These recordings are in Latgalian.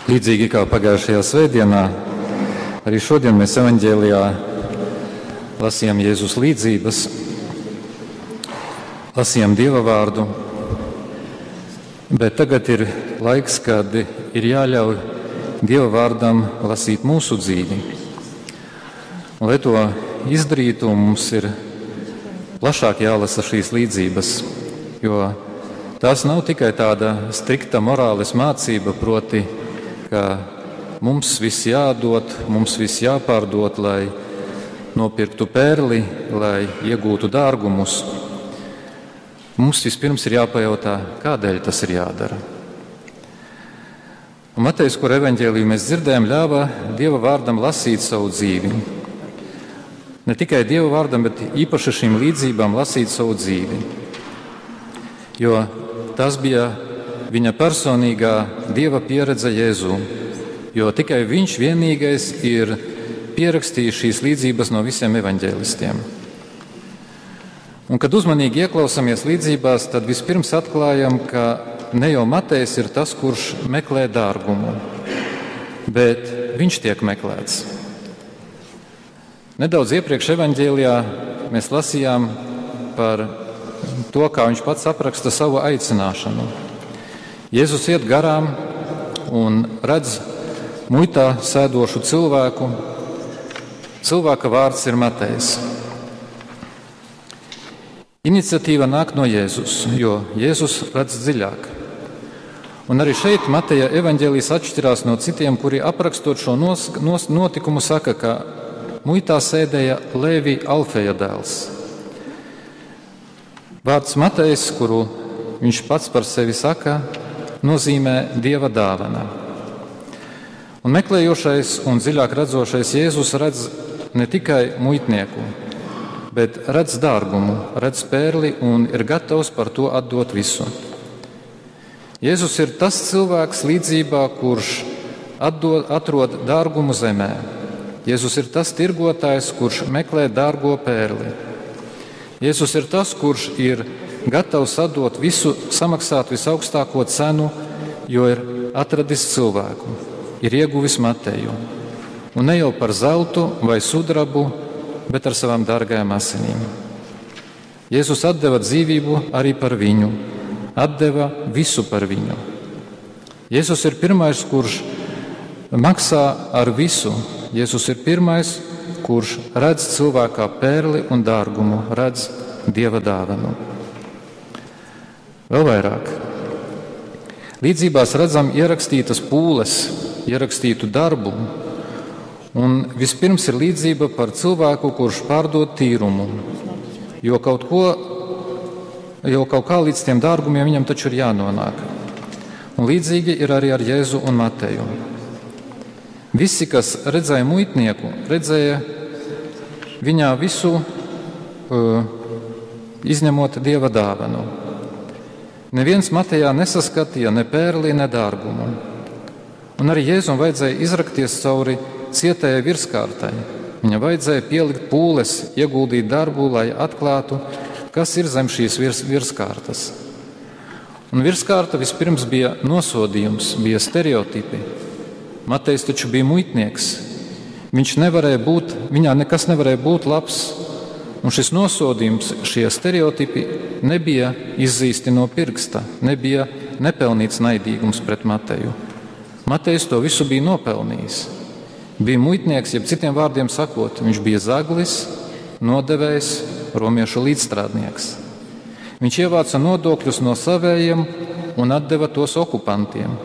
Līdzīgi kā pagājušajā svētdienā, arī šodien mēs evaņģēlijā lasījām Jēzus līdzības, lasījām Dieva vārdu, bet tagad ir laiks, kad ir jāļauj Dieva vārdam lasīt mūsu dzīvi. Un, lai to izdarītu, mums ir plašāk jālasa šīs līdzības, jo tās nav tikai tāda strikta morāles mācība, proti, ka mums viss jādod, mums viss jāpārdod, lai nopirktu pērli, lai iegūtu dārgumus. Mums vispirms ir jāpajautā, kādēļ tas ir jādara. Un Matejs, kur evaņģēliju mēs dzirdējam, ļāva Dieva vārdam lasīt savu dzīvi. Ne tikai Dieva vārdam, bet īpaši šīm līdzībām lasīt savu dzīvi. Jo tas bija viņa personīgā Dieva pieredze Jēzū, jo tikai viņš vienīgais ir pierakstījis šīs līdzības no visiem evaņģēlistiem. Un, kad uzmanīgi ieklausāmies līdzībās, tad vispirms atklājam, ka ne jau Matejs ir tas, kurš meklē dārgumu, bet viņš tiek meklēts. Nedaudz iepriekš evaņģēlijā mēs lasījām par to, kā viņš pats apraksta savu aicināšanu. Jēzus iet garām un redz muitā sēdošu cilvēku. Cilvēka vārds ir Matejs. Iniciatīva nāk no Jēzus, jo Jēzus redz dziļāk. Un arī šeit Mateja evaņģēlijs atšķirās no citiem, kuri aprakstot šo nos, nos, notikumu saka, ka muitā sēdēja Lēvi Alfeja dēls. Vārds Matejs, kuru viņš pats par sevi saka, nozīmē Dieva dāvana. Un meklējošais un dziļāk redzošais Jēzus redz ne tikai muitnieku, bet redz dārgumu, redz pērli un ir gatavs par to atdot visu. Jēzus ir tas cilvēks līdzībā, kurš atdod, atrod dārgumu zemē. Jēzus ir tas tirgotājs, kurš meklē dārgo pērli. Jēzus ir tas, kurš ir gatavs atdot visu, samaksāt visaugstāko cenu, jo ir atradis cilvēku, ir ieguvis Mateju. Un ne jau par zeltu vai sudrabu, bet ar savām dārgajām asinīm. Jēzus atdeva dzīvību arī par viņu, atdeva visu par viņu. Jēzus ir pirmais, kurš maksā ar visu. Jēzus ir pirmais, kurš redz cilvēkā pērli un dārgumu, redz Dieva dāvanu. Vēl vairāk. Līdzībās redzam ierakstītas pūles, ierakstītu darbu, un vispirms ir līdzība par cilvēku, kurš pārdod tīrumu, jo kaut ko, jo kaut kā līdz tiem dārgumiem viņam taču ir jānonāk. Un līdzīgi ir arī ar Jēzu un Mateju. Visi, kas redzēja muitnieku, redzēja viņā visu, izņemot Dieva dāvanu. Neviens Matejā nesaskatīja ne pērli, ne dārgumu. Un arī Jēzum vajadzēja izrakties cauri cietējai virskārtai. Viņam vajadzēja pielikt pūles, ieguldīt darbu, lai atklātu, kas ir zem šīs virs, virskārtas. Un virskārta vispirms bija nosodījums, bija stereotipi. Matejs taču bija muitnieks. Viņš nevarēja būt, viņā nekas nevarēja būt labs. Un šis nosodījums, šie stereotipi nebija izzīsti no pirksta, nebija nepelnīts naidīgums pret Mateju. Matejs to visu bija nopelnījis. Bija muitnieks, jeb citiem vārdiem sakot, viņš bija zaglis, nodevējs, romiešu līdzstrādnieks. Viņš ievāca nodokļus no savējiem un atdeva tos okupantiem,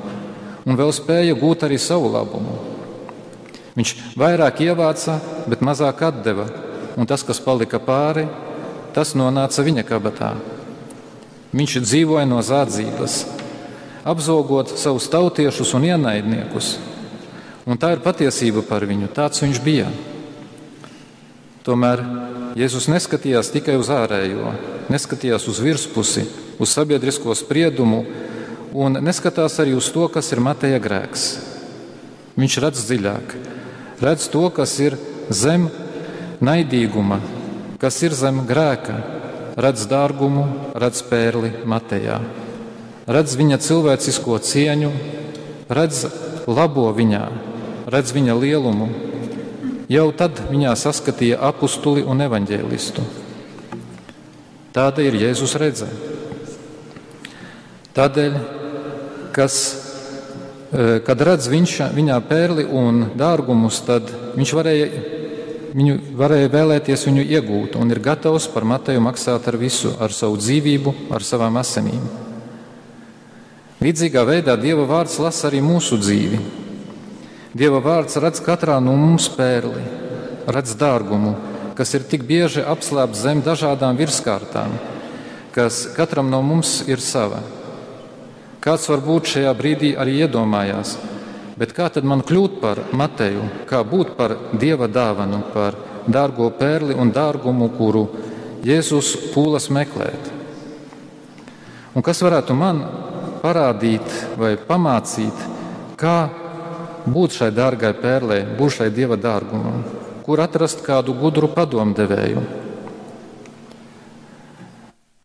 un vēl spēja gūt arī savu labumu. Viņš vairāk ievāca, bet mazāk atdeva, un tas, kas palika pāri, tas nonāca viņa kabatā. Viņš dzīvoja no zādzības, apzogot savus tautiešus un ienaidniekus. Un tā ir patiesība par viņu, tāds viņš bija. Tomēr Jēzus neskatījās tikai uz ārējo, neskatījās uz virspusi, uz sabiedrisko spriedumu un neskatās arī uz to, kas ir Mateja grēks. Viņš redz dziļāk, redz to, kas ir zem naidīguma, kas ir zem grēka, redz dārgumu, redz pērli Matejā, redz viņa cilvēcisko cieņu, redz labo viņā, redz viņa lielumu. Jau tad viņā saskatīja apustuli un evaņģēlistu. Tāda ir Jēzus redze. Tādēļ, kas, kad redz viņš, viņā pērli un dārgumus, tad viņš varēja, viņu, varēja vēlēties viņu iegūt un ir gatavs par Mateju maksāt ar visu, ar savu dzīvību, ar savām asinīm. Līdzīgā veidā Dieva vārds lasa arī mūsu dzīvi. Dieva vārds redz katrā no mums pērli, redz dārgumu, kas ir tik bieži apslēpts zem dažādām virskārtām, kas katram no mums ir sava. Kāds varbūt šajā brīdī arī iedomājās, bet kā tad man kļūt par Mateju, kā būt par Dieva dāvanu, par dārgo pērli un dārgumu, kuru Jēzus pūlas meklēt? Un kas varētu man parādīt vai pamācīt, kā būt šai dārgai pērlei, būt šai Dieva dārgumam, kur atrast kādu gudru padomdevēju?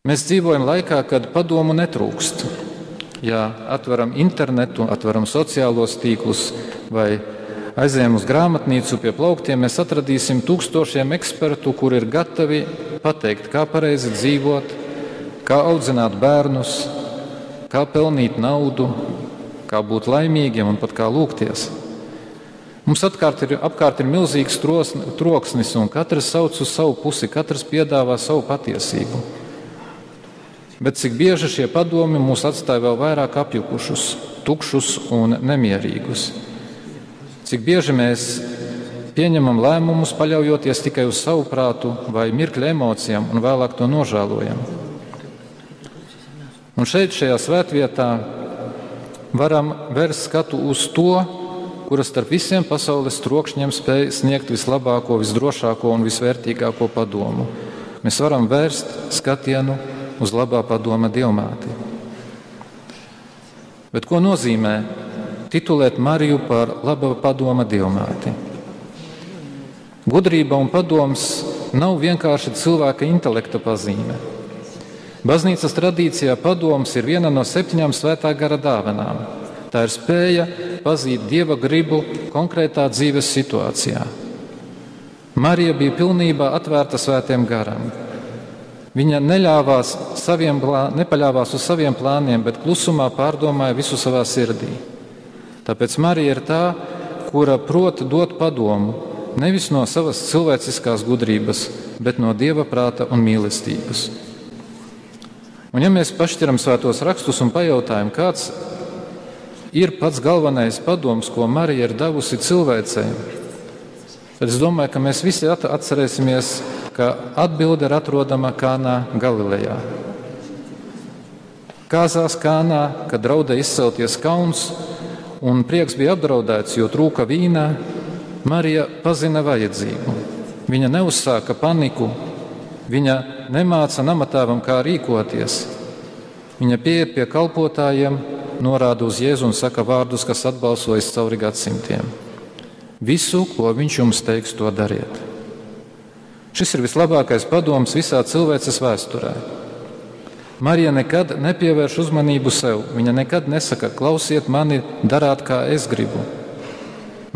Mēs dzīvojam laikā, kad padomu netrūkst. Ja atveram internetu, atveram sociālos tīklus vai aizejam uz grāmatnīcu pie plauktiem, mēs atradīsim tūkstošiem ekspertu, kuri ir gatavi pateikt, kā pareizi dzīvot, kā audzināt bērnus, kā pelnīt naudu, kā būt laimīgiem un pat kā lūgties. Mums apkārt ir milzīgs troksnis, un katrs sauc uz savu pusi, katrs piedāvā savu patiesību. Bet cik bieži šie padomi mūs atstāja vēl vairāk apjukušus, tukšus un nemierīgus. Cik bieži mēs pieņemam lēmumus, paļaujoties tikai uz savu prātu vai mirkļa emocijām, un vēlāk to nožēlojam. Un šeit, šajā svētvietā, varam vērst skatu uz to, kura starp visiem pasaules trokšņiem spēj sniegt vislabāko, visdrošāko un visvērtīgāko padomu. Mēs varam vērst skatienu uz labā padoma Dievmāti. Bet ko nozīmē titulēt Mariju par laba padoma Dievmāti? Gudrība un padoms nav vienkārši cilvēka intelekta pazīme. Baznīcas tradīcijā padoms ir viena no 7 svētā gara dāvanām. Tā ir spēja pazīt Dieva gribu konkrētā dzīves situācijā. Marija bija pilnībā atvērta svētiem garam. Viņa nepaļāvās uz saviem plāniem, bet klusumā pārdomāja visu savā sirdī. Tāpēc Marija ir tā, kura prot dot padomu, nevis no savas cilvēciskās gudrības, bet no Dieva prāta un mīlestības. Un ja mēs pašķiram svētos rakstus un pajautājam, kāds ir pats galvenais padoms, ko Marija ir devusi cilvēcei, tad es domāju, ka mēs visi atcerēsimies, ka atbilde ir atrodama Kānā Galilejā. Kāzās Kānā, kad draudēja izcelties kauns un prieks bija apdraudēts, jo trūka vīna, Marija pazina vajadzību. Viņa neuzsāka paniku, viņa nemāca namatēvam, kā rīkoties. Viņa pieiet pie kalpotājiem, norāda uz Jēzu un saka vārdus, kas atbalsojas cauri gadsimtiem. Visu, ko viņš jums teiks, to dariet. Šis ir vislabākais padoms visā cilvēces vēsturē. Marija nekad nepievērš uzmanību sev. Viņa nekad nesaka, klausiet mani, darāt, kā es gribu.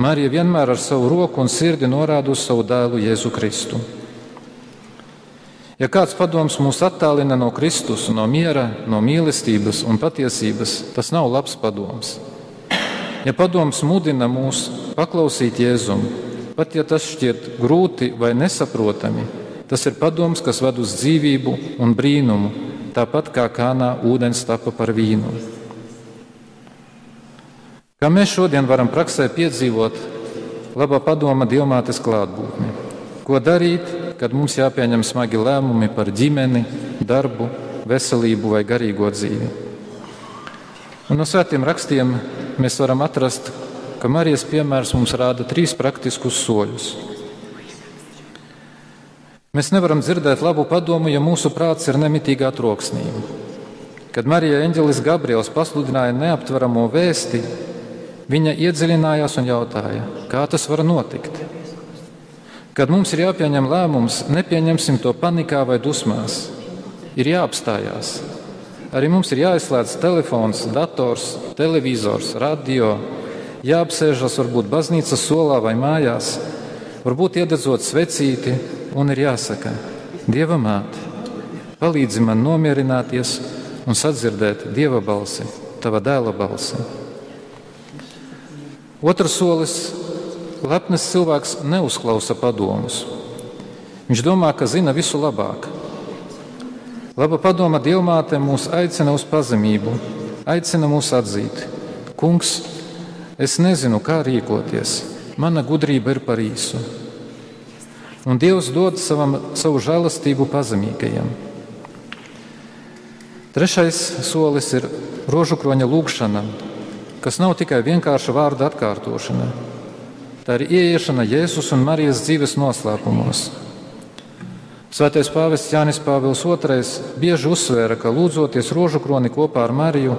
Marija vienmēr ar savu roku un sirdi norāda uz savu dēlu Jēzu Kristu. Ja kāds padoms mūs attālina no Kristus, no miera, no mīlestības un patiesības, tas nav labs padoms. Ja padoms mudina mūs paklausīt Jēzum, pat ja tas šķiet grūti vai nesaprotami, tas ir padoms, kas ved uz dzīvību un brīnumu, tāpat kā Kānā ūdens tapa par vīnu. Kā mēs šodien varam praksē piedzīvot labā padoma Dievmātes klātbūtni? Ko darīt, kad mums jāpieņem smagi lēmumi par ģimeni, darbu, veselību vai garīgo dzīvi? Un no svētiem rakstiem mēs varam atrast, ka Marijas piemērs mums rāda 3 praktiskus soļus. Mēs nevaram dzirdēt labu padomu, ja mūsu prāts ir nemitīgā troksnī. Kad Marija eņģelis Gabriels pasludināja neaptveramo vēsti, viņa iedziļinājās un jautāja, kā tas var notikt. Kad mums ir jāpieņem lēmums, nepieņemsim to panikā vai dusmās. Ir jāapstājās. Arī mums ir jāizslēdz telefons, dators, televizors, radio. jāapsēžas varbūt baznīcas solā vai mājās, varbūt iededzot svecīti, un ir jāsaka: Dieva māte, palīdzi man nomierināties un sadzirdēt Dieva balsi, tava dēla balsi. Otrs solis - lepns cilvēks neuzklausa padomus. Viņš domā, ka zina visu labāk. Laba padoma Dievmāte mūs aicina uz pazemību, aicina mūs atzīt: Kungs, es nezinu, kā rīkoties, mana gudrība ir par īsu. Un Dievs dod savam, savu žēlastību pazemīgajiem. Trešais solis ir rožu kroņa lūgšana, kas nav tikai vienkārša vārda atkārtošana. Tā ir ieiešana Jēzus un Marijas dzīves noslēpumos. Svētais pāvests Jānis Pāvils II bieži uzsvēra, ka lūdzoties rožu kroni kopā ar Mariju,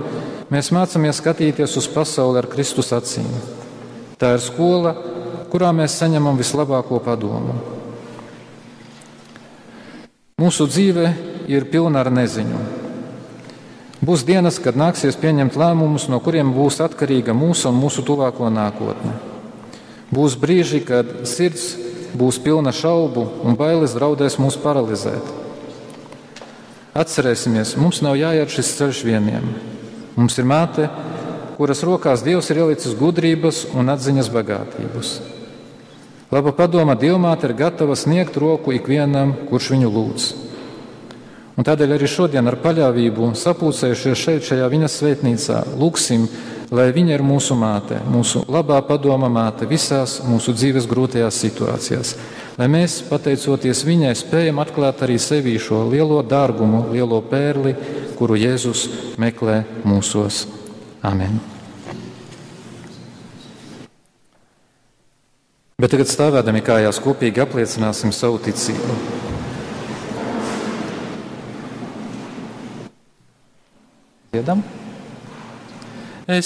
mēs mācāmies skatīties uz pasauli ar Kristus acīm. Tā ir skola, kurā mēs saņemam vislabāko padomu. Mūsu dzīve ir pilna ar neziņu. Būs dienas, kad nāksies pieņemt lēmumus, no kuriem būs atkarīga mūsu un mūsu tuvāko nākotne. Būs brīži, kad sirds būs pilna šaubu un bailes draudēs mūs paralizēt. Atcerēsimies, mums nav jāiet šis ceļš vieniem. Mums ir māte, kuras rokās Dievs ir ielicis gudrības un atziņas bagātības. Laba padoma Dievmāte ir gatava sniegt roku ikvienam, kurš viņu lūdz. Un tādēļ arī šodien ar paļāvību sapulcējušies šeit, šajā viņas svētnīcā, lūgsim, lai viņa ir mūsu māte, mūsu labā padoma māte visās mūsu dzīves grūtajās situācijās. Lai mēs, pateicoties viņai, spējam atklāt arī sevī šo lielo dārgumu, lielo pērli, kuru Jēzus meklē mūsos. Amen. Bet tagad stāvēdami kājās kopīgi apliecināsim savu ticību. Dziedam.